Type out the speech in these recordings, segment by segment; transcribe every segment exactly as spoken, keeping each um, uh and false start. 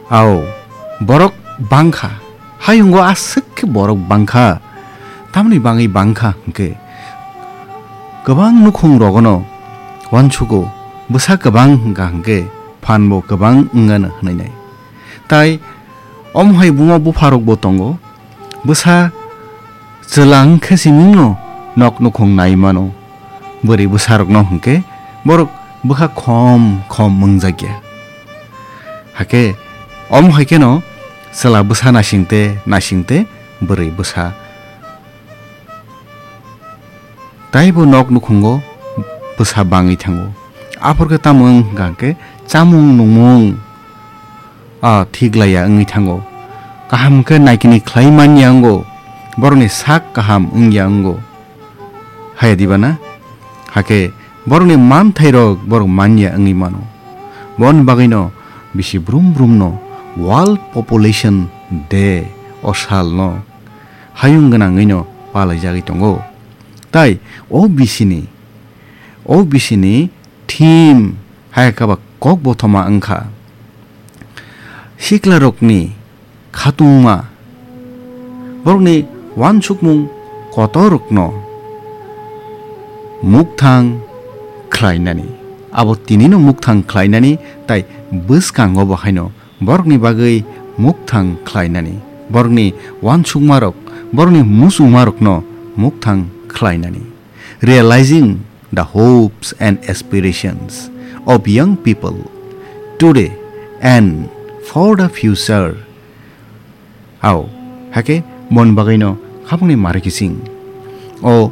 Ao, borok bangkha. Hayungo aswk khe borok bangkha. Tamni bangwi bangkha hwnkhe, kwbang nukhung rogono uansugo, bwsa kwbang hwnkha hwnkhe phanbo kwbang wngano hwnwi nai. Tai omo hai buma bupharokbo tongo, bwsa chwla wngkhe simingno nok nukhung nai mano. Bwrwi bwsarokno hwnkhe borok bwkha khom khom wngjakya. Hakhe omo hai kheno chwla bwsa naisingte naisingte bwrwi bwsa taibo nok nukhungo bwsa bangwi thango. Aphor khe tamo wng hwnkha hwnkhe chamung nungmung, ah, thik laiya wngwi thango. Kaham khe naikini khlai manya wngo, borokni sak kaham wngya wngo. Haya diba na? Hakhe borokni manthairok borok manya wngwi mano. Boni bagwino bisi brum brumno World Population Day o salno hayung gwnangwino palaijagwi tongo. Tai o bisini, o bisini theme hai khe ba kok bothoma wngkha siklarokni khatungma, borokni uansukmung kotorrokno mukthang khlainani. Abo tinino mukthang khlainani tai bwskango bo haino borokni bagwi mukthang khlainani, borokni uansukmarok, borokni muchungmarokno mukthang khlainani. Realizing the hopes and aspirations of young people today and for the future. Ao, hakhe boni bagwino khabangni mari kising. O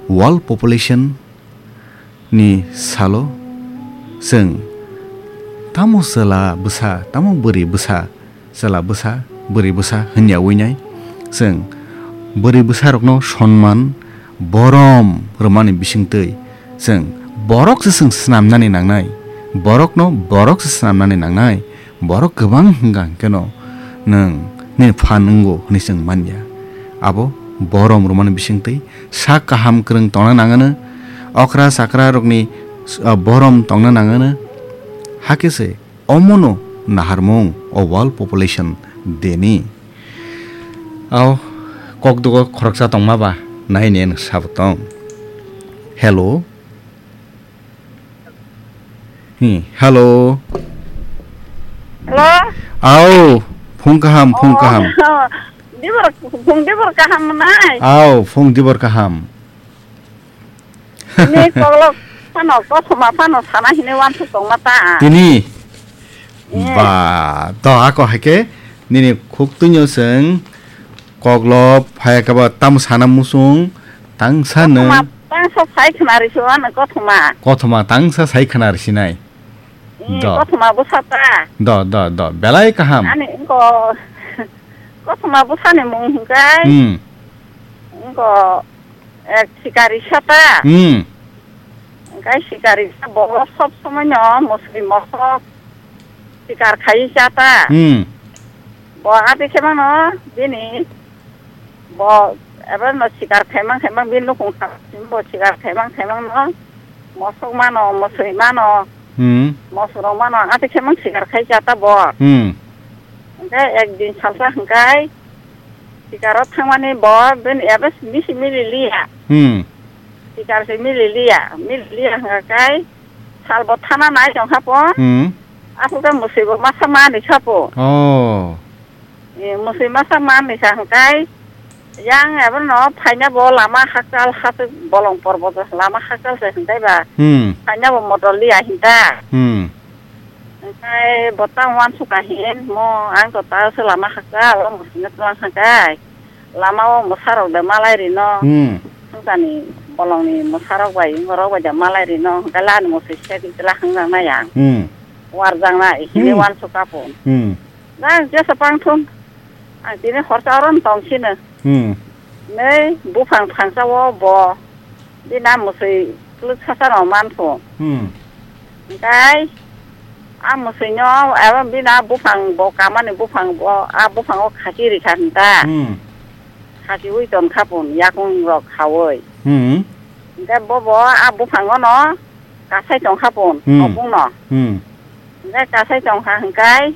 world population ni salo chwng tamo chwla bwsa, tamo bwrwi bwsa, chwla bwsa, bwrwi bwsa hwnyawi nai. Chwng bwrwi bwsarokno sonman, borom rwmani bisingtwi chwng borok se chwng snamnani nangnai, borokno borok se snamnani nangnai. Borok kwbang hwnkha hwnkhe no nwng nini phan wngo hwnwi chwng manya. Abo borom rwmani bisingtwi sak kaham kwrwng tongna nangano, okra chakra rokni, ah, borom tongna nangano. Hakhe se omono naharmung o World Population Day ni. Ao kokdogo khoroksa tongma ba nai ne nwng sabo tong. Hello. Hmm, hello. Hello? Ao, phung kaham, phung kaham. Oh, dibor, phung dibor kaham nai? Ao, phung dibor kaham. Ni koklok phano, kothoma phano sana hini wansuk tongma ta. Tini? Eh. Ba, to ako haike, nini khuk tunyo seng, koklop, phaya kaba tam sana musung, tangsa neng. Kothoma, tangsa sai khna risi wano kothoma. Kothoma, tangsa sai khna risi nai. Eh, do. Kothoma bwsa ta. Do, do, do. Belai kaham. Ani wngko kothoma bwsani mung hwnkhe. Hmm. Wngko, eh, sikari sa ta. Hmm. Hwnkhe sikari sa bo sob somoi no musri mosok sikar khai cha ta. Hmm. Bo ati khe mano bini Bo eba no sikar khaimang khaimang bini nukhung saka simi bo sikar khaimang khaimang no mosok mano, mosoi mano, Hmm. mosok rok mano, ati khaimang sikar khai cha ta bo. Hmm. Hwnkhe ek din salsa hwnkhe sikar o thangmani bo bini eba bisi mili liya. Hmm. Sikar se mili liya, mili liya hwnkhe sal bo thana nai tong kha po. Hmm. Aswk ta mosoi bo masa mani kha po. Oh. Eh, mosoi masa man ni sa hwnkhe, yang abo no phaina bo lama hakchal hasuk bolong porbo lama hakchal se hwnkhe ba. Hmm. Phaina bo motor liya hinta. Hmm. Hwnkhe bo tang uansuk ka hin mo ang to ta se lama hakchal o mosoi no tlang hwnkhe. Lama o mosa rok de malai rino. Hmm. Hwnkani bolong ni mosa rok bai borok bai de malai rino hwnkhe lani mosoi se tla hwngjak na yang. Hmm. Warjak na hini Hmm. uansuk ka po. Hmm. Nang jesa pang thung. Ang tini horsa oro tong sino. Hmm. Nei buphang phangsa o bo. Bini a mosoi kluk sasa no man thung. Hmm. Hwnkhe a mosoi no abo bini a buphang bo kamani buphang bo a buphang o khaki rikha hinta. Hmm. Khaki ui ton kha pun yakung rok khaui. Hmm. Hwnkhe bo bo a buphang o no kasai tong kha pun Hmm. nokung no. Hmm. Hwnkhe kasai tong kha hwnkhe